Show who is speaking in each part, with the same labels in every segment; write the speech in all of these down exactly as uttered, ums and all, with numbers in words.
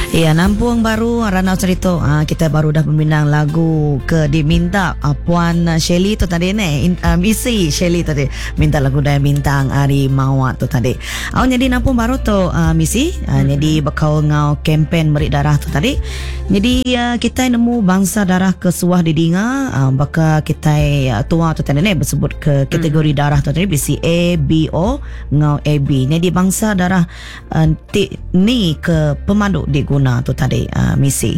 Speaker 1: Ya, nampung baru Ranau Cerita. Ha, kita baru dah peminang lagu ke diminta uh, Puan Shelly tu tadi ni. Uh, misi Shelly tadi minta lagu Daya Bintang Ari Mawat tu tadi. Oh, jadi nampung baru tu uh, misi. Uh, hmm. Jadi bekau ngau kempen merik darah tu tadi. Jadi uh, kita nemu bangsa darah ke suah didinga uh, baka kita uh, tua tu tadi ni bersebut ke kategori hmm. darah tu tadi B C A B O ngau A B. Jadi bangsa darah uh, ti, ni ke pemandu diguna tu tadi uh, misi.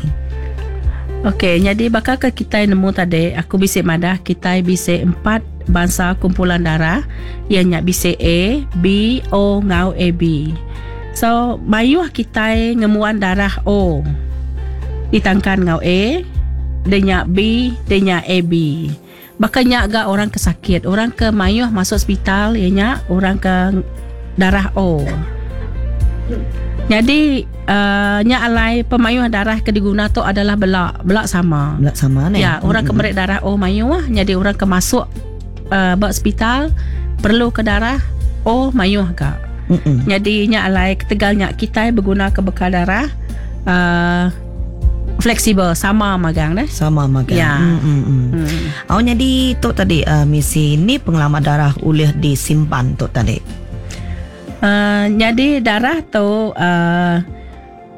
Speaker 2: Okey, jadi bakal ke kita nemu tadi aku bisik madah kita bisik empat bangsa kumpulan darah ianya B C A, B, O ngau A B. So mayuh kita ngemuan darah O ditangkan ngau A, denya B, denya A B. Bakal nyak ga orang ke sakit, orang ke mayuh masuk hospital ianya orang ke darah O. Jadi uh, nyak alai pemayuh darah ke diguna tu adalah belak, belak sama.
Speaker 1: Belak sama ni.
Speaker 2: Ya, orang mm-hmm. ke merik darah O mayuh, jadi orang ke masuk uh, bak hospital perlu ke darah O mayuh gak. Mm-hmm. Jadi nyak alai ketegal nyak kita berguna ke bekal darah uh, fleksibel sama magang dah.
Speaker 1: Sama magang.
Speaker 2: Ya.
Speaker 1: Mm-hmm. Mm. Oh, jadi tu tadi uh, misi ni pengalaman darah ulih disimpan tu tadi.
Speaker 2: Uh, jadi darah tu uh,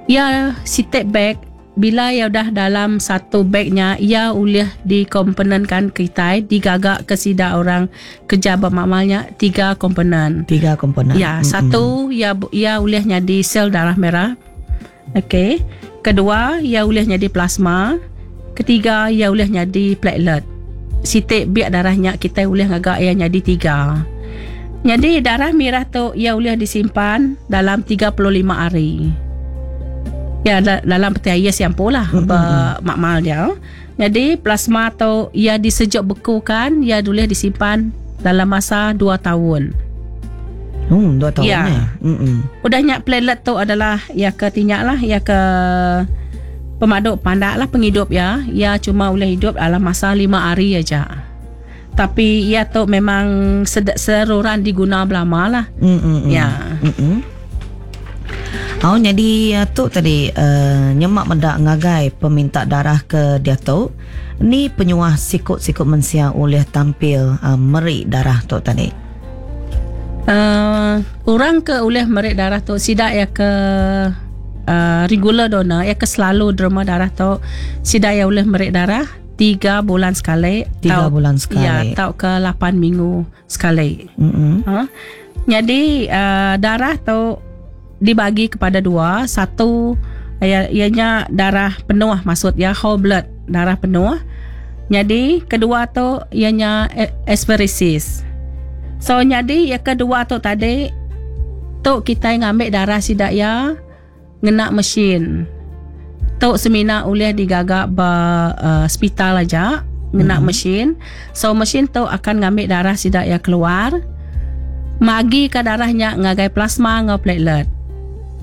Speaker 2: ya si take bag bila ya dah dalam satu bagnya ia ulih dikomponenkan kita digagak ke sida orang kerja bermakmalnya tiga komponen.
Speaker 1: Tiga komponen.
Speaker 2: Ya, mm-hmm. Satu ya ia ulih jadi sel darah merah. Okey. Kedua ia ulih jadi plasma. Ketiga ia ulih jadi platelet. Sitik biak darahnya kita ulih ngagak ia jadi tiga. Jadi darah merah tu ia boleh disimpan dalam tiga puluh lima hari. Ya da- dalam peti ais yang pula mm-hmm. bermakmal dia. Jadi plasma tu ia disejuk bekukan, ia boleh disimpan dalam masa dua tahun.
Speaker 1: Hmm, dua tahun
Speaker 2: ya.
Speaker 1: Eh. Mm-mm.
Speaker 2: Udahnya platelet tu adalah ia ke tinyak lah, ia ke pemaduk pandak lah penghidup ya. Ia cuma boleh hidup dalam masa lima hari aja. Tapi ia tu memang sed- seruran diguna belama lah.
Speaker 1: Mm, mm, mm.
Speaker 2: Ya.
Speaker 1: Mm, mm. Oh, jadi tu tadi uh, nyemak mendak ngagai peminta darah ke dia tu. Ni penyuah sikut-sikut mensia oleh tampil uh, merik darah tu tadi.
Speaker 2: Uh, orang ke oleh merik darah tu sidak ya ke uh, regular donor ya ke selalu derma darah tu sidak ya oleh merik darah tiga bulan sekali.
Speaker 1: Tiga
Speaker 2: tau,
Speaker 1: bulan sekali.
Speaker 2: Ya, tau ke lapan minggu sekali.
Speaker 1: Mm-hmm.
Speaker 2: Ha? Jadi uh, darah tu dibagi kepada dua. Satu ya, ianya darah penuh, maksud ya whole blood, darah penuh. Jadi kedua tu ianya apheresis. So jadi yang kedua tu tadi tu kita ngambil darah sidak ya ngena mesin. Tok semina ulih digagak ba uh, hospital aja ngena mm-hmm. mesin. So mesin tu akan ngambil darah sidak ya keluar. Magi ke darahnya ngagai plasma ngau platelet.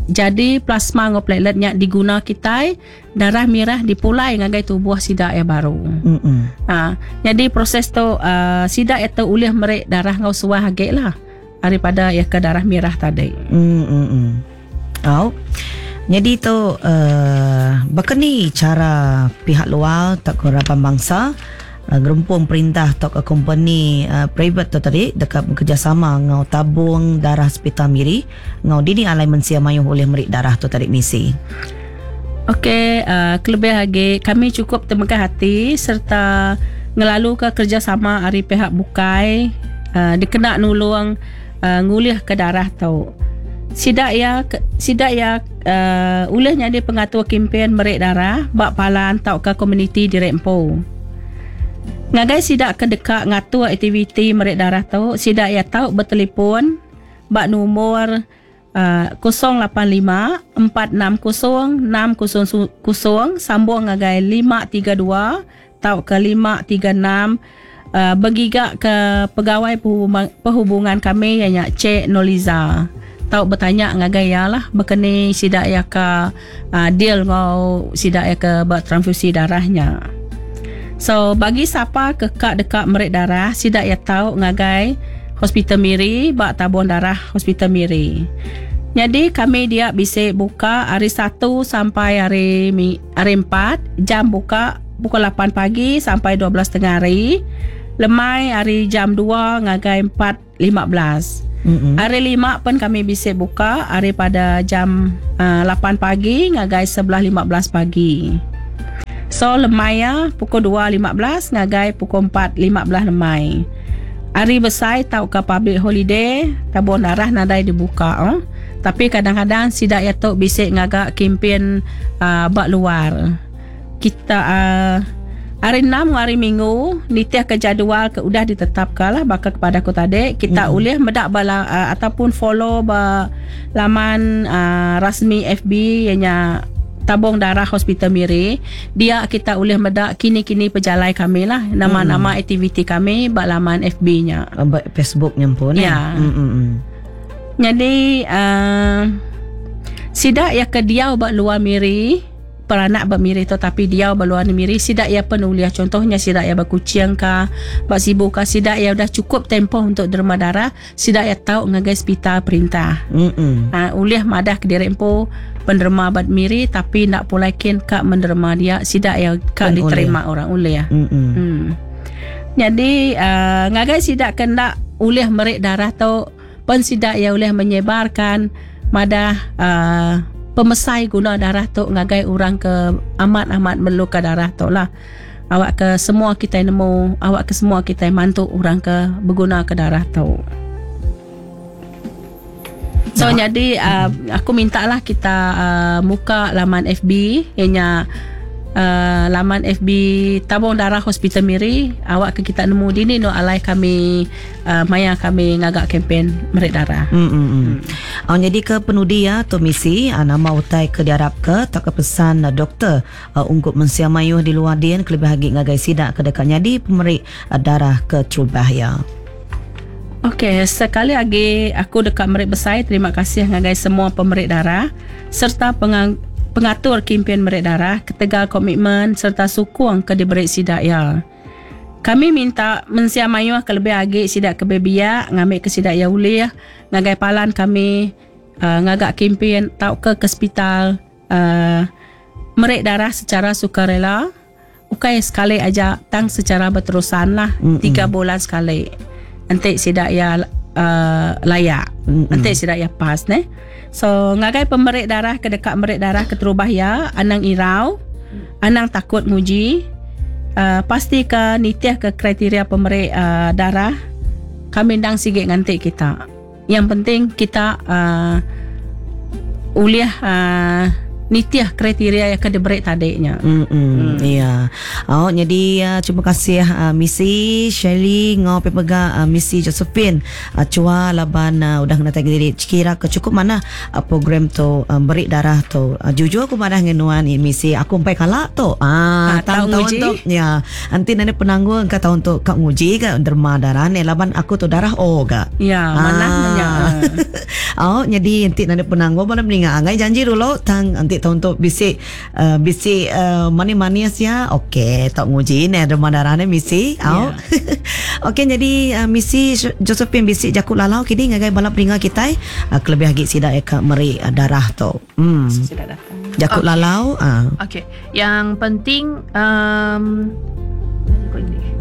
Speaker 2: Jadi plasma ngau plateletnya diguna kita, darah merah dipulai ngagai tubuh sidak ya baru.
Speaker 1: Mm-hmm.
Speaker 2: Ha, jadi proses tu uh, sidak itu ulih merik darah ngau suah agak lah daripada ya ke darah merah tadi.
Speaker 1: Mm-hmm. Oh. Jadi tu uh, bakani cara pihak luar tak kerapan bangsa uh, gerumpung perintah tak ke company uh, private tu tadi dekat bekerjasama ngau tabung darah hospital Miri ngau dini alai mensia mayuh oleh merik darah tu tadi misi.
Speaker 2: Okey, uh, kelebih lagi kami cukup temegah hati serta ngelalu ke kerjasama ari pihak bukai uh, dikena nulung uh, ngulih ke darah tu. Sidak ya sidak ya uh, ulihnya dia pengatur kempen merik darah bak palan tau ke komuniti di Rempo. Ngagai sidak ke dekat ngatur aktiviti merik darah tu, sidak ya tau bertelefon bak nomor uh, kosong lapan lima empat enam kosong enam kosong kosong sambung ngagai lima tiga dua tau ke lima tiga enam uh, bergigak ke pegawai perhubungan, perhubungan kami ianya Cik Noliza. Tau bertanya ngagai ya lah berkeni sidak ya ke uh, deal ngau sidak ya ke buat transfusi darahnya. So bagi siapa kekak dekat merik darah sidak ya tau ngagai Hospital Miri bak tabung darah Hospital Miri. Jadi kami dia bisa buka hari Satu sampai hari hari Empat, jam buka pukul lapan pagi sampai dua belas tengah hari. Lemai hari jam dua ngagai empat lima belas. Mm-hmm. Hari Lima pun kami bisa buka hari pada jam uh, lapan pagi ngagai sebelas lima belas pagi. So lemai ya pukul dua lima belas ngagai pukul empat lima belas lemai. Hari besar tau ke public holiday tabung darah nadai dibuka oh. Tapi kadang-kadang sidak ya tok bisik ngagak kempen uh, bak luar. Kita uh, hari enam hari Minggu nitih ke jadual ke udah ditetapkan lah bakal kepada aku tadi kita mm. boleh medak bala uh, ataupun follow ba laman uh, rasmi F B ianya Tabung Darah Hospital Miri. Dia kita boleh medak kini-kini pejalai kami lah nama-nama mm. aktiviti kami bak laman F B-nya.
Speaker 1: Bak Facebook-nya pun
Speaker 2: ya. Mm-mm. Jadi uh, sidak ya ke diau bak luar Miri, peranak bak Miri tu tapi diau bak luar Miri, sidak ya penuliah contohnya sidak ya bak Kuching ka, bak Sibu ka, sidak ya udah cukup tempoh untuk derma darah, sidak ya tahu ngagai hospital perintah.
Speaker 1: Mm-mm.
Speaker 2: Uh, uliah madah ke diri empu penderma bak Miri tapi nak pulaikin kak menderma dia, sidak ya kak diterima orang uliah. Hmm. Jadi uh, ngagai sidak kena uliah merik darah tu pun sidak ya boleh menyebarkan madah uh, pemesai guna darah tu ngagai orang ke amat-amat memerlukan darah tu lah. Awak ke semua kita nemu, awak ke semua kita mantu orang ke berguna ke darah tu. So nah. Jadi uh, aku minta lah kita uh, muka laman F B ianya uh, laman F B Tabung Darah Hospital Miri. Awak ke kita nemu dini no alai kami uh, maya kami ngagak kempen merik darah.
Speaker 1: Hmm hmm. hmm. Oh, jadi ke penudi ya tu misi uh, nama utai ke diharap ke tak ke pesan uh, doktor uh, ungkup mensia mayuh di luar dien kelebih lagi ngagai sidak ke dekat nyadi pemerik uh, darah ke terubah ya.
Speaker 2: Okey, sekali lagi aku dekat merik besar terima kasih ngagai semua pemerik darah serta pengang pengatur kempen merik darah ketegal komitmen serta sukung ke diberi sidak ya. Kami minta mensia mayuh ke lebih agi sidak ke bebiak ngambil ke sidak ya ulih ngagai palan kami uh, ngagak kempen tau ke ke hospital uh, merik darah secara sukarela. Ukai sekali aja tang secara berterusan lah mm-hmm. tiga bulan sekali. Nanti sidak ya uh, layak. Mm-hmm. Nanti sidak ya pas ne. So ngagai pemerik darah ke dekat merik darah ke terubah ya, anang irau, anang takut nguji. Uh, pasti ke nitih ke kriteria pemerik uh, darah. Kami ndang sigit ngantik kita. Yang penting kita uh, uliah uh, nitih kriteria yang diberi tadinya.
Speaker 1: Hmm, mm. Ya. Oh, jadi uh, terima kasih uh, Missy Shirley ngau pepega uh, Missy Josephine uh, cua laban uh, udah kena tagi diri kira ke cukup mana uh, program tu uh, beri darah tu. Uh, jujur aku madah ngenuan ni Missy aku empai kalak tu. Ah,
Speaker 2: ha, tahun
Speaker 1: tahun tu ya. Nanti nane penanggung ke tahun tu kak nguji ke derma darah ni laban aku tu darah O ga.
Speaker 2: Ya, mana nanya.
Speaker 1: Oh, jadi nanti nane penanggung mana meninggal angai janji dulu tang nanti tahun tu bisik uh, bisik uh, manis-manis ya. Okey, tak nguji ni derma darah ni misi. Au. Yeah. Okey, jadi uh, misi Josephine bisik jakut lalau kini ngagai balap ringa kita uh, kelebih lagi sidak ya ka meri uh, darah tu. Hmm.
Speaker 2: Sidak datang.
Speaker 1: Jakut
Speaker 3: okay.
Speaker 1: Lalau ah.
Speaker 3: Uh. Okey. Yang penting um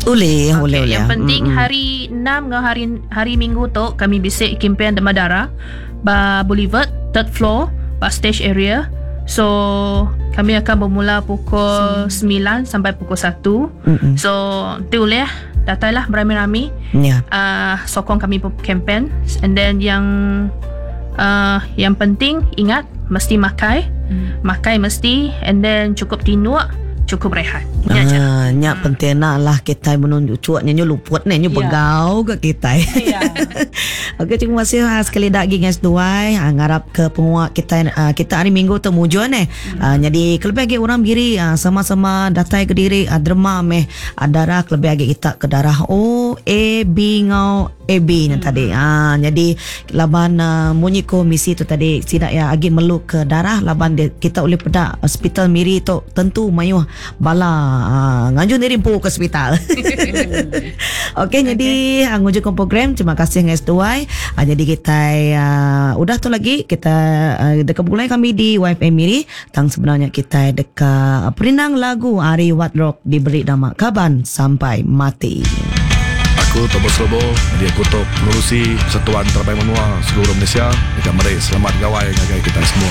Speaker 1: Boleh,
Speaker 3: okay.
Speaker 1: boleh, boleh.
Speaker 3: Yang penting
Speaker 1: mm-hmm.
Speaker 3: hari enam dengan hari hari Minggu tu kami bisik kempen derma darah ba Boulevard third floor ba stage area. So kami akan bermula pukul sembilan sampai pukul satu.
Speaker 1: Mm-mm.
Speaker 3: So nanti boleh datanglah beramai-ramai.
Speaker 1: Yeah.
Speaker 3: Uh, sokong kami kempen. And then yang uh, yang penting ingat mesti makai. Mm. Makai mesti and then cukup tidur, cukup rehat.
Speaker 1: Ya ah, nyak hmm. penting nak lah kita menunjuk cuaknya nyu luput ni nyu
Speaker 2: ya.
Speaker 1: Begau ke kita.
Speaker 2: Ya.
Speaker 1: Okey, terima kasih ha, sekali lagi guys duai. Ha, ngarap ke penguat kita ha, kita hari Minggu tu mujur ni.
Speaker 2: Hmm.
Speaker 1: Ha, jadi kelebih lagi orang biri ha, sama-sama datai ke diri ha, derma meh ha, darah kelebih lagi kita ke darah O A B ngau A B ni
Speaker 2: hmm.
Speaker 1: tadi. Ha, jadi laban uh, munyi ko misi tu tadi sidak ya agi meluk ke darah laban dia, kita boleh pedak hospital Miri tu tentu mayuh bala uh, nganjung diri empu ke hospital. Okey, jadi uh, ngujung program terima kasih ngai seduai. Uh, jadi kita uh, udah tu lagi kita uh, dekat mulai kami di Y F M Miri tang sebenarnya kita dekat perinang lagu Ari Wat Rock diberi nama Kaban Sampai Mati.
Speaker 4: Aku Thomas Lobo, jadi aku tok pengerusi Persatuan Terebai Menua seluruh Malaysia. Dekat meri selamat gawai ngagai kita semua.